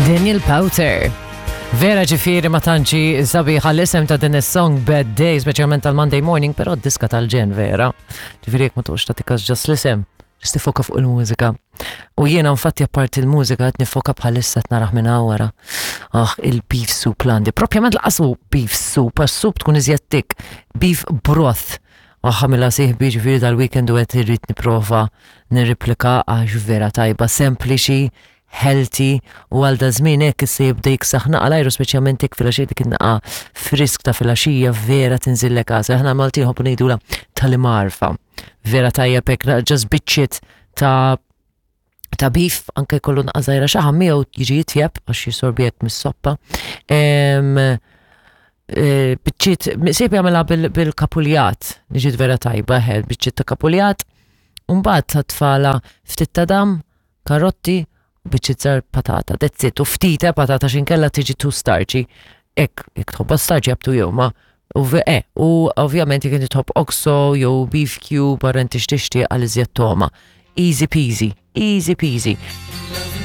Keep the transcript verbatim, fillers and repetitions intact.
Daniel Powter. Vera, ġifieri ma tantx sabiħa l-isem ta' din is-song Bad Day, speċjalment tal-Monday morning, però diska tal-ġenn vera. Ġifieri jekk ma toqgħodx tagħti kas just l-isem, just tifoka fuq il-mużika. U jiena infatti apparti il-mużika qed nifoka bħalissa qed narah minn wara. Ah, il-beef soup l-għandi. Propjament laqasu beef soup, għax soup tkun iżjed thick. Beef broth. Għamilha sieħbi, ġifieri dal-weekend u qed irrid nipprova nirreplika għax vera tajba, sempliċi, healthy u għal da żmien hekk issa jibda jiksaħ naqa l-ajru, speċjalment hekk filgħaxija, dik naqa frisk ta' filgħaxija vera tinżillek għasel. Aħna Maltin nħobbu ngħidula tal-imgħarfa. Vera tajjeb hekk, just biċċiet ta' ta' beef, anke jkollu naqa żgħira xaħam miegħu jiġi jitjeb għax jisorbijek mis-soppa. Em, eh, Biċċiet, sieħbi jagħmilha bil-kapuljat, niġi vera tajba, ħel, biċċiet ta' kapuljat, Umbagħad ta' tfala ftit ta' dam, karotti, biċċiet żgħar patata, that's it, u ftit eh, patata x'inkella tiġi too starchy. Ek, jekk tħobbha starchy, up to you, ma u ve- eh, u ovvjament jekk inti tħobb oxo jew beef cube, barra inti x'tixtieq għal iżjed toma. Easy peasy, easy peasy.